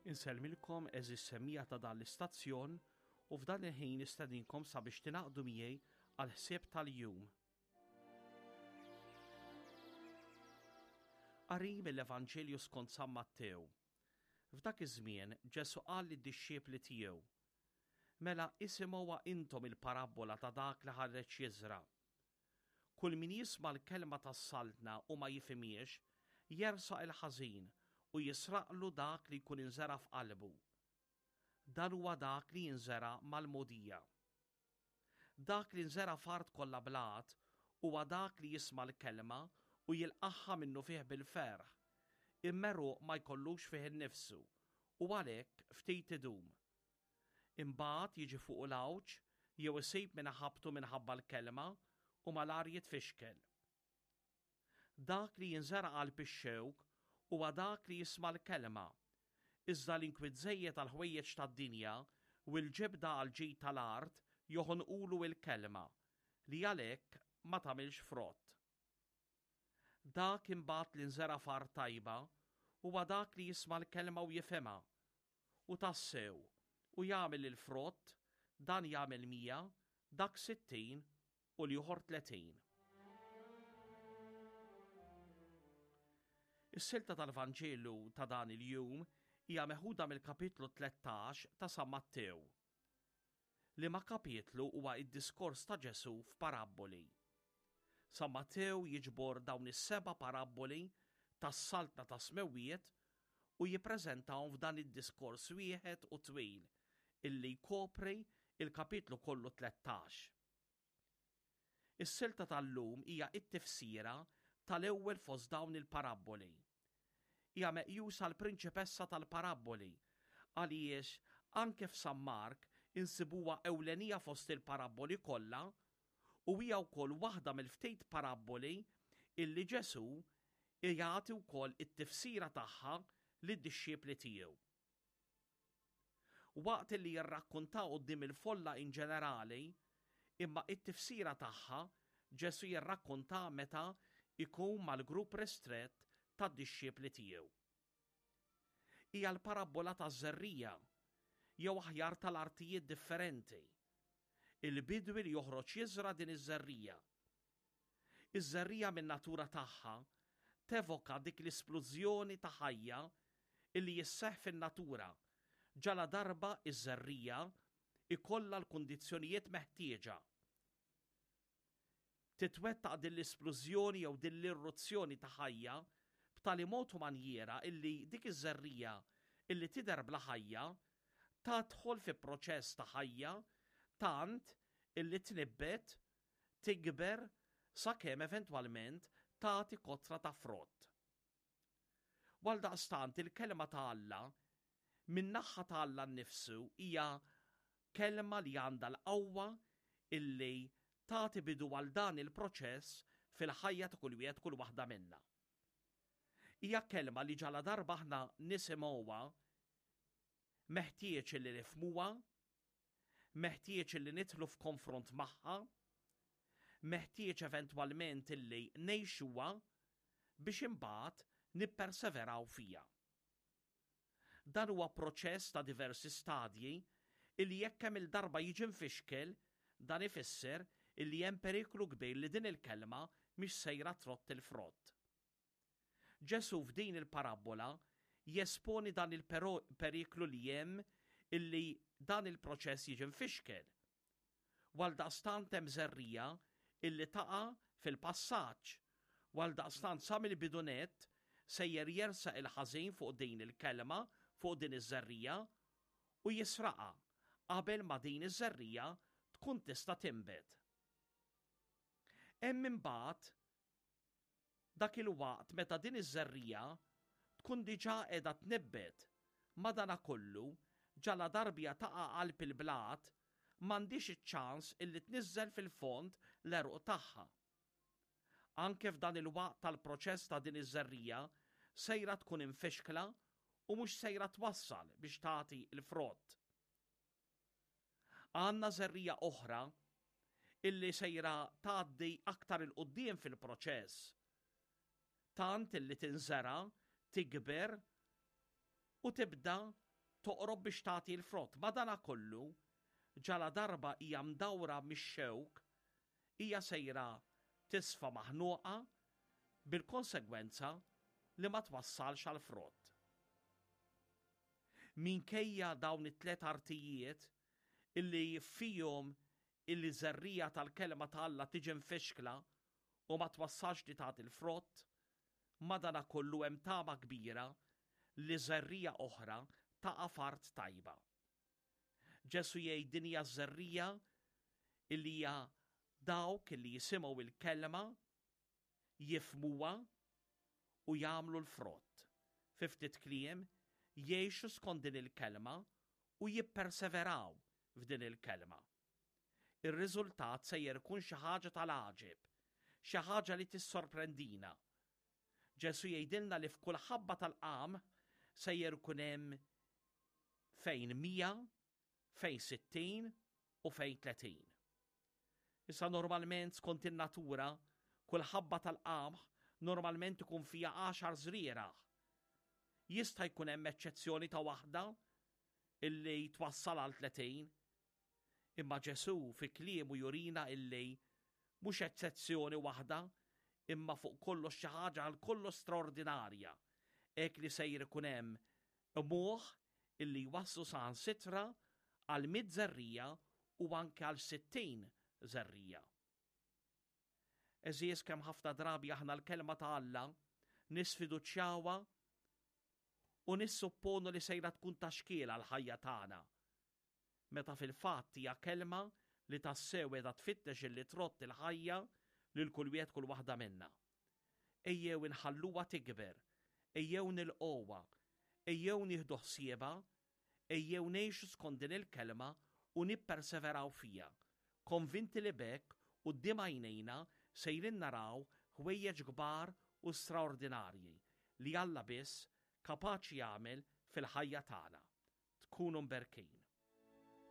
Insellmilkom għeżież semmiegħa ta' dan l-istazzjon u f'dan il-ħin nistedinkom sabiex tingħaqdu miegħi għall-ħsieb tal-jum. Qari mill-Evanġelju skont San Mattew. F'dak iż-żmien Ġesù qal lid-dixxiepli tiegħu, Mela isimgħuha intom il-parabbola ta' dak li ħareġ jiżra'. Kull min jisma' l-kelma tas-Saltna u ma jifhimhiex, jersaq il-ħażin u jisraqlu dak li jkun inżera' f'qalbu. Dan huwa dak li jinżera' mal-mogħdija. Dak li nżera' f'art kollha blat huwa dak li jisma' l-kelma u jilqagħha minnufih bil-ferħ, imma għeruq ma jkollux fih innifsu u għalhekk ftit idum. Imbagħad jiġi fuqu l-għawġ jew isib min iħabbtu minħabba l-kelma u malajr jitfixkel. Dak li jinżera' qalb ix-xewk huwa dak li jisma' l-kelma, iżda l-inkwiet żejjed għall-ħwejjeġ tad-dinja u l-ġibda għall-ġid tal-art joħonqulu l-kelma, li għalhekk ma tagħmilx frott. Dak imbagħad li nżera' f'art tajba huwa dak li jisma' l-kelma u jifhimha, u tassew, u jagħmel il-frott, dan jagħmel 100, dak 60 u l-ieħor 30. Is-silta tal-Vanġelu ta' dan il-jum hija meħuda mill-kapitlu 13 ta' San Mattew. Liema kapitlu huwa d-diskors ta' Ġesù f'parabboli. San Mattew jiġbor dawn is-seba' parabboli tas-Saltna tas-Smewwiet u jippreżentahom f'dan id-diskors wieħed u twil illi jkopri l-kapitlu kollu 13. Is-silta tal-lum hija t-tifsira tal-ewwel fost dawn il-parabboli. Hija meqjusa l-prinċipessa tal-parabboli għaliex anke f'San Mark insibuha ewlenija fost il-parabboli kollha u hija wkoll waħda mill-ftit parabboli illi Ġesù jagħti wkoll it-tifsira tagħha lid-dixxipli tiegħu. Waqt li jirrakkunta quddiem il-folla in ġenerali, imma it-tifsira tagħha Ġesù jirrakkunta meta jkun mal-grupp ristrett tad-dixxipli tiegħu. Hija l-parabbola taż-żerriegħa, jew aħjar tal-artijiet differenti. Il-bidwi li joħroġ jiżra' din iż-żerriegħa. Iż-żerriegħa min-natura tagħha tevoka dik l-isplużjoni ta' ħajja illi jisseħħ fin-natura ġaladarba ż-żerriegħa jkollha l-kundizzjonijiet meħtieġa. Titwettaq din l-isplużjoni jew din l-irruzzjoni ta' ħajja b'tali mod u manjiera illi dik iż-żerriegħa illi tidher bla ħajja tadħol fi proċess ta' ħajja tant illi tnibbet tikber sakemm eventwalment tagħti kotra ta' frott. U għaldaqstant il-kelma ta' Alla min-naħa ta' Alla nnifsu hija kelma li għandha l-qawwa illi tagħti bidu għal dan il-proċess fil-ħajja ta' kull wieħed kull waħda minna. Hija kelma li ġaladarba aħna nisimgħuha meħtieġ li nifhmuha Meħtieġ illi nidħlu f'konfront magħha, meħtieġ eventwalment illi ngħixuha biex imbagħad nipperseveraw fiha. Dan huwa proċess ta' diversi stadji illi jekk kemm-il darba jiġi mfixkel, dan ifisser illi hemm periklu kbir li din il-kelma mhix sejra trott il-frott. Ġesù f'din il-parabbola jesponi dan il-periklu li hemm illi dan il-proċess jiġi mfixkel. U għaldaqstant hemm żerriegħa illi taqa' fil-passaġġ, u għaldaqstant sa mill-bidu nett sejjer jersaq il-ħażin fuq din il-kelma, fuq din iż-żerriegħa, u jisraqha qabel ma din iż-żerriegħa tkun tista' tinbet. Hemm imbagħad Dak il-waqt meta din iż-żerriegħa tkun diġà qiegħda tnibbet, madanakollu, ġaladarbja taqa' qalb il-blat, m'għandhiex iċ-ċans illi tniżżel fil-fond l-għeruq tagħha. Anke f'dan il-waqt tal-proċess ta' din iż-żerriegħa sejra tkun imfixkla u mhux sejra twassal biex tagħti l-frott. Għandna żerriegħa oħra illi sejra tgħaddi aktar 'il quddiem fil-proċess. Tant illi tinżera', tikber u tibda toqrob biex tagħti l-frott. Madanakollu, ġaladarba hija mdawra mix-xewk, hija sejra tisfa maħnuqa bil-konsegwenza li ma twassalx għal frott. Minkejja dawn it-tlet artijiet illi fihom illi żerriegħa tal-Kelma ta' Alla tiġi mfixkla u ma twassalx li tagħti l-frott, madanakollu hemm tama kbira li żerriegħa oħra taqa' f'art tajba. Ġesù jgħid din hija ż-żerriegħa illi hija dawk illi jisimgħu il-kelma, jifhmuha u jagħmlu l-frott. Fi ftit kliem, jgħixu skont din il-kelma u jipperseveraw f'din il-kelma. Ir-riżultat sejjer ikun xi ħaġa tal-għaġeb, xi ħaġa li tissorprendina. Ġesù jgħidilna li f'kull ħabba tal-qamħ sejjer ikun hemm fejn 100, fejn 60 u fejn 30. Issa normalment skont in-natura, kull ħabba tal-qamħ normalment ikun fiha għaxar żrieragħ. Jista' jkun hemm eċċezzjoni ta' waħda illi twassal għal 30. Imma Ġesù fi kliemu jurina illi mhux eċċezzjoni waħda imma fuq kollox xi ħaġa għal kollox straordinarja, hekk li sejjer ikun hemm qmuħ illi jwasslu saħansitra għal mitt żerriegħa u anke għal 60 żerriegħa. Għeżież kemm ħafna drabi aħna l-kelma ta' Alla nisfiduċjawha u nissupponu li sejra tkun ta' xkiel għall-ħajja tagħna. Meta fil-fatt hija kelma li tassew qiegħda tfittex illi trott il-ħajja lil kull wieħed kull waħda minna. Ejjew inħalluha tikber, ejjew nilqgħuha, ejjew nieħdu ħsiebha, ejjew ngħixu skont din il-kelma u nipperseveraw fiha, konvinti li b'hekk quddiem għajnejna sejrin naraw ħwejjeġ kbar u straordinarji li Alla biss kapaċi jagħmel fil-ħajja tagħna. Tkunu mberkin.